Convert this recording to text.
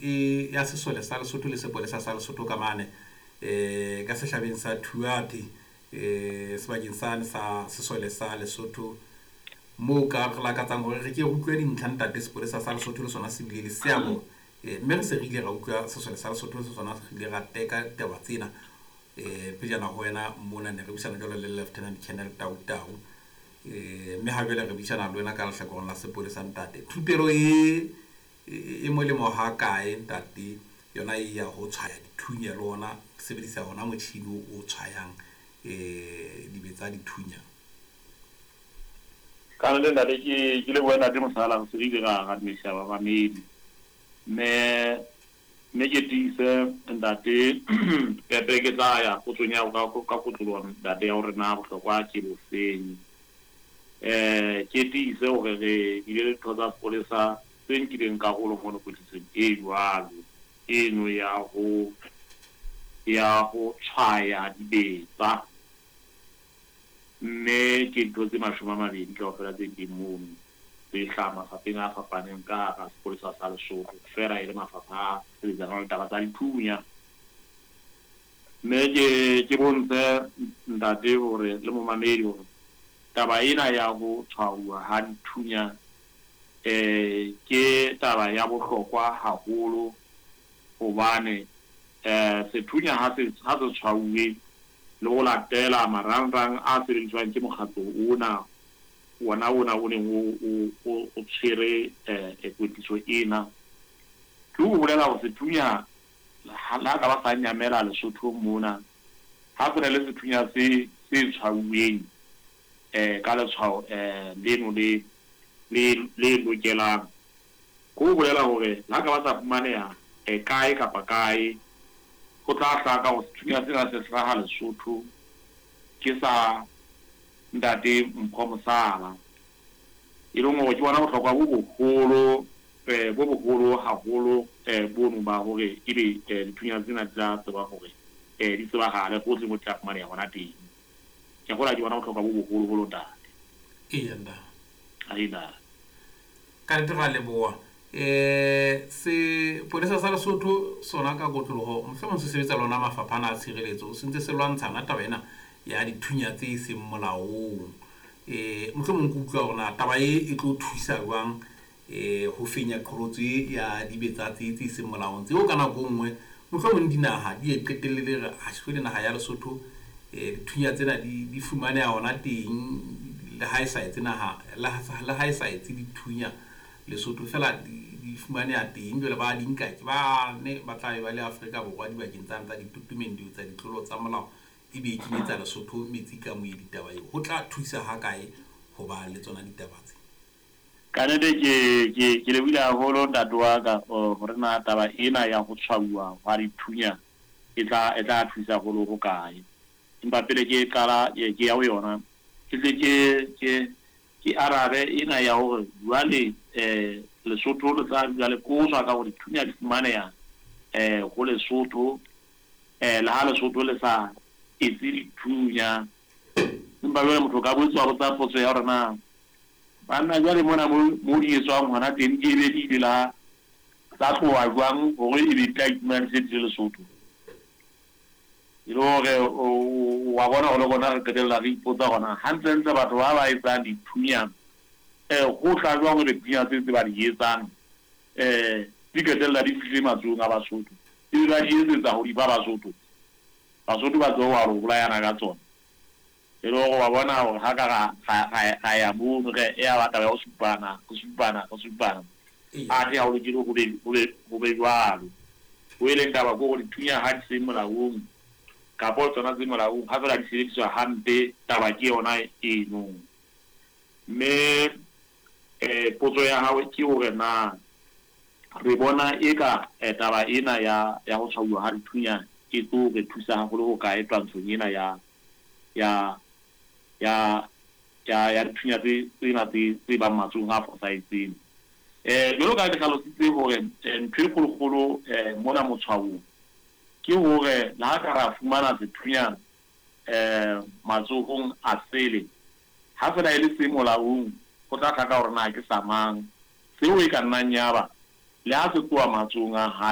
E ya sesole sa Lesotho le sepolesa sa Lesotho ka mane ka sehlabeng sa Thuate sebakeng sane sa sesole sa Lesotho moo ka re lakatsang hore re ke re utlwe dintlha ntate. Sepolesa sa Lesotho le sona se bile le seabo, mme re se re ile ra utlwa sesole sa Lesotho se sona re ile ra teka taba tsena pejana ho wena mona. Ne re buisana jwalo le Lieutenant Colonel Tau Tau, mme ha jwale re buisana le wena ka lehlakoreng la sepolesa. Ntate, thupelo e molemo ha kae, ntate, yona e ya ho tshwaya dithunya le ona sebedisa ona motjhini o tshwayang dibetsa dithunya? Ka nnete, ntate, ke lebohe, ntate Mosala. Re se re ile ra dumedisa bamamedi, mme ke tiise, ntate Pepe, ke tla ya potsong ya ka kotloloho, ntate, ya hore na bohlokwa ke bofeng. Ke tiise hore re bile le ditho tsa sepolesa tse nkileng karolo mono kwetlisong e jwalo eno ya ho tshwaya dibetsa, mme ke ntho tse 20 kaofela tse teng mono tse hlaha mafapheng a fapaneng ka hara sepolesa sa Lesotho, feela e le mafapha a sebetsanang le taba tsa dithunya. Mme ke bontshe, ntate, hore le momamedi hore taba ena ya ho tshwauwa ha dithunya ke taba ya bohlokwa haholo, hobane sethunya ha se tshwauwe le ho latela marangrang a sebediswang ke mokgatlo ona wona o neng o tshwere kwetliso ena, ke ho bolela hore sethunya le ha ka ba sa nyamela Lesotho mona, ha se na le sethunya se tshwauweng ka letshwao leno le lokelang, ke ho bolela hore le ha ka ba sa fumaneha kae kapa kae, ho tla hlaka hore sethunya sena se hlaha Lesotho, ke sa ntate Mpho Mosala, e leng hore ke bona bohlokwa bo boholo haholo bono ba hore ebe dithunya tsena di tla tseba hore di tsebahale hohle mo di tla fumaneha hona teng. Ke kgolwa ke bona bohlokwa bo boholoholo, ntate. Eya, ntate. Aina. Ka nnete ra leboha. Sepolesa sa Lesotho sona ka kotloloho mohlomong se sebetsa lona mafapha ana a tshireletso, se ntse se lwantshana taba ena ya dithunya tse seng molaong. Mohlomong ke utlwa hore na taba e tlo thusa jwang ho fenya qholotso e ya dibetsa tse seng molaong, tseo ka nako e nngwe mohlomong dinaha di e qetelle le re ha naha ya Lesotho dithunya tsena di fumaneha hona teng, le ha e sa etse naha, le ha e sa etse dithunya Lesotho fela, di fumaneha teng. Jwale ba di nka ke ba ne ba tla be ba le Afrika Borwa dibakeng tsane tsa ditotomeng tsa ditlolo tsa molao, ebe e kenyetsa Lesotho metsi ka moedi. Taba eo ho tla thusa ha kae ho ba le tsona ditaba tse? Ka nnete ke lebohile haholo, ntate wa ka, hore na taba ena ya ho tshwauwa hwa dithunya e tla thusa haholo ho kae. Empa pele ke qala ke ya ho yona, ke tle ke arabe ena ya hore jwale Lesotho le tla dula le qoswa ka hore dithunya di fumaneha ho Lesotho, le ha Lesotho le sa etse dithunya. Empa jwale motho o ka boetse wa botsa potso ya hore na banna jwale mona mo di etswang hona teng di ebe di ile la tsa tloha jwang hore ebe di tla iphumana di se di le Lesotho, e le hore wa bona hore le rona re qetella re ipotsa hore hantlentle batho ba ba etsang dithunya, ho tla jwang hore dithunya tse ba di etsang di qetella di fihlile matsohong a Basotho, ebe ba di etsetsa ho di fa Basotho, Basotho ba tsebe ho bolayana ka tsona? E le hore wa bona hore ha ka ra ya mono, re ya ba taba ya ho supana, re supana, re supana, athe ha o lokele ho be jwalo. Ho e leng taba ke hore dithunya ha di se molaong kapa tsona tse molaong, ha fela di sebediswa hampe, taba ke yona eno. Mme potso ya hao ke hore na re bona eka taba ena ya ho tshwauwa ha dithunya e tlo re thusa haholo ho kae twantshong ena ya dithunya tsena tse bang matsohong a fosahetseng. Jwalo ka ha ke hlalositse hore ntho e kgolokgolo mona motshwaong ke hore le ha ka ra fumana sethunya matsohong a sele, ha fela e le se molaong, ho tla hlaka hore na ke sa mang. Seo e ka nnang ya ba Le ha se tloha matsohong a hae.